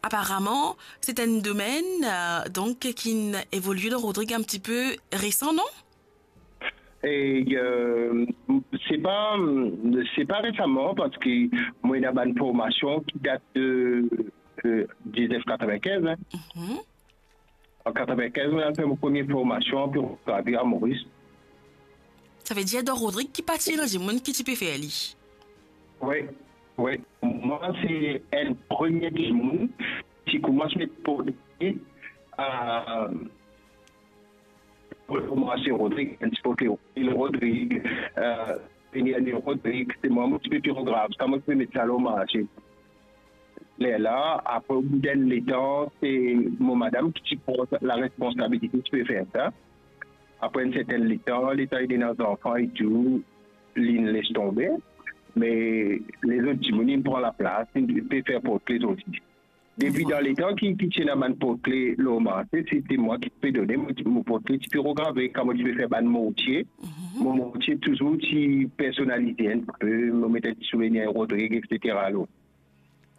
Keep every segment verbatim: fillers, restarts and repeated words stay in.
Aparaman, se enn domenn, euh, donk, ki'nn evolie dan Rodrig enn tipe resan, non? E, euh, se pa, se pa resaman, parski mo ena bann formasion ki dat de, euh, diznef katrevinkinz, hein. Mhm. An katrevinkinz, mo al fer mo premie formasion pou gravi a Moris. Savedir, dan Rodrig ki pa ti ena dimoun ki ti pe fer li? Wi, wi. Mwa, se enn premie dimoun ki koumans met portret, euh, pou koumans Rodrig, enn ti portret Rodrig, euh, vini ane Rodrig, se mwa, mo ti pe pirograf sa, mo ti pe met sa lor marse. Lerla, apre, obout enn letan, se mo madam ki ti pran laresponsabilite ti pe fer sa. Apre enn sertenn letan, letan li ena zanfan e tou, li'nn les tonbe. Me lezot dimoun inn pran laplas, inn pe fer portre lezot. Depi dan letan ki, ki ti ena bann portre lor marse, se ti mwa ki ti pe done mo, mo portre ti pirograve, kan mo ti pe fer bann mortie, mhm, mo mortie touzour ti personalize enn pe, mo met enn ti souvenir Rodrig, et cetera lor.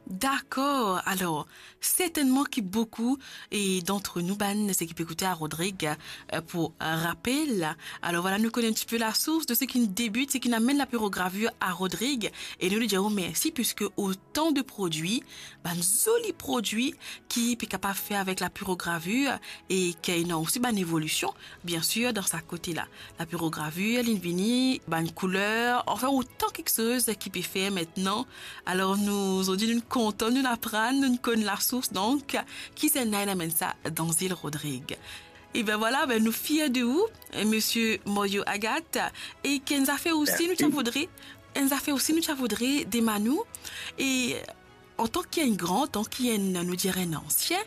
Dakor. Alor, sertennman ki boukou e dant nou, bann seki pe ekoute a Rodrig, eh, pou, eh, rapel. Alor, vwala, nou kone enn tipe lasours de seki debit, seki amenn lapirogravi a Rodrig. E nou, nou dir ou mersi, piske otan de prodwi, bann zoli prodwi ki pe kapav fer avek lapirogravi e ki ena osi bann evolision, biensir, dan sa kote la. Lapirogravi, li'nn vini, bann kouler, anfin, otan kiksoz ki pe fer aster. Alor, nou, zordi, nou kontan, nou aprann, nou konn lasours, donk, ki zis ena amenn sa dan zil Rodrig. E ben vwala, ben, nou fier de ou, eh, Misie Morio Agathe, e ki enn zafer osi, nou ti a voudre, enn zafer osi, nou ti a voudre demann ou, e antan ki enn gran, antan ki enn, nou dir, enn ansien,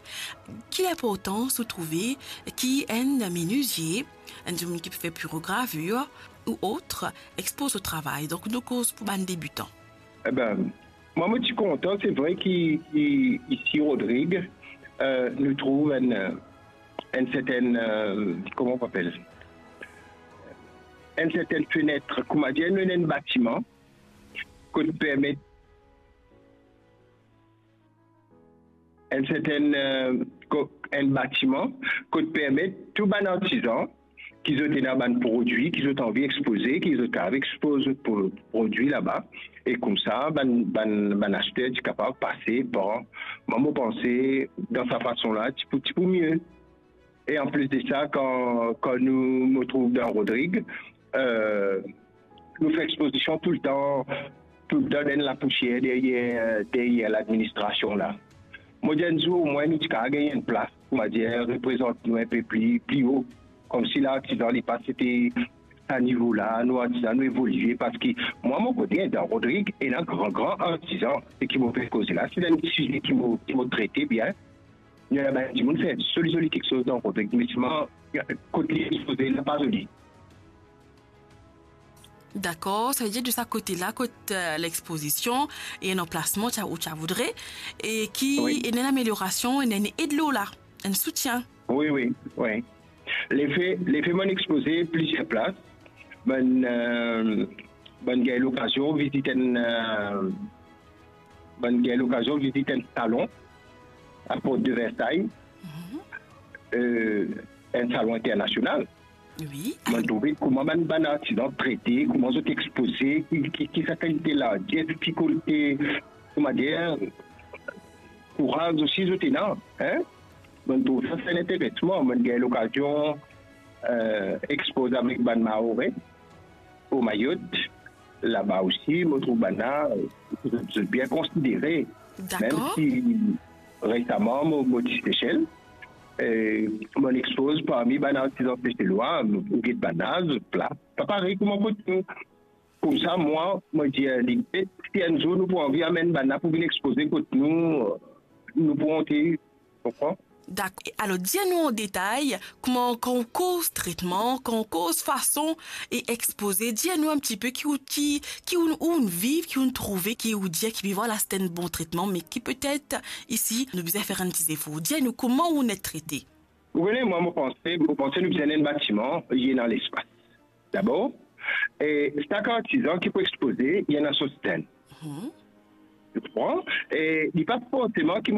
ki linportans ou trouve ki enn menizie, enn dimoun ki pe fer pirogravi ou ot, expoz so travay? Donk, nou koz pou bann debitan. Eben, mwa, mo ti kontan, se vre ki, ki isi Rodrig, eh, nou trouv enn, enn sertenn, eh, kouma nou apel? Enn sertenn fenet, kouma dir, nou ena enn batiman, kot permet enn sertenn, eh, ko-, enn batiman kot permet tou bann artizan ki zot ena bann prodwi ki zot anvi expoze, ki zot kapav expoz zot pro-, prodwi laba, e koumsa bann, bann, bann aster ti kapav pase par. Mwa, mo panse dan sa fason la, ti pou, ti pou mie. E anplis de sa, kan, kan nou, nou trouv dan Rodrig, eh, nou fer expozision toultan, toultan dan lapousier deryer, deryer ladministrasion la. Mo dir enn zour, omwin nou ti kapav gagn enn plas, kouma dir, reprezant nou enpe pli, pli o. Koumsi lartizan, li pa ti ete sa nivo la, nou artizan, nou evolie, parski mwa, mo kote, dan Rodrig, ena gran, gran artizan, seki mo pe koze la, se enn size ki mo, ki mo trete bien. Ena bann dimoun fer zoli, zoli kiksoz dan Rodrig, me selman, kot li expoze la, pa zoli. Dakor, savedir de sa kote la, kot, eh, lexpozision, e enn anplasman, ti a, ou ti a voudre, e ki ena enn ameliorasion, ena enn ed lor la, enn soutien. Wi, wi, wi. Lefe, lefe mo'nn expoze plizier plas, bann, eh, bann gagn lokazion vizit enn, eh, bann gagn lokazion vizit enn salon, a Port de Versailles, eh, enn salon internasional. Wi. Mo'nn trouve kouma bann, bann artizan trete, kouma zot expoze, ki, ki, ki sa kalite larges, ki kalite, kouma dir, kouraz osi zot ena, hein? Mo'nn trouv sa, se enn interesman. Mo'nn gagn lokazion, eh, expoze avek bann Maore o Mayotte, laba osi, mo trouv bann la, zot, zot bien konsidere. Dakor. Mem si resaman, mo, mo ti Sesel, eh, mo'nn expoz parmi bann artizan seselwa, ou get bann la, zot la, pa parey kouma kot nou. Koumsa, mwa, mo dir, lide, si enn zour nou pou anvi amenn bann la pou vinn expoze kot nou, nou pou onte, konpran? Dakor. Alor, dir nou an detay, kouma kan ou koz tretman, kan ou koz fason e expoze, dir nou enn tipe ki ou ti, ki ou, ou'nn viv, ki ou'nn trouve, ki ou dir ki, vwala, se enn bon tretman, me ki petet isi, nou bizin fer enn ti zefor. Dir nou kouma ou'nn et trete. Ou kone, mwa, mo panse, mo panse nou bizin enn batiman, li ena lespas. Dabor, e sak artizan ki pou expoze, li ena so stand. Mhm. Ou konpran? E li pa forseman ki mo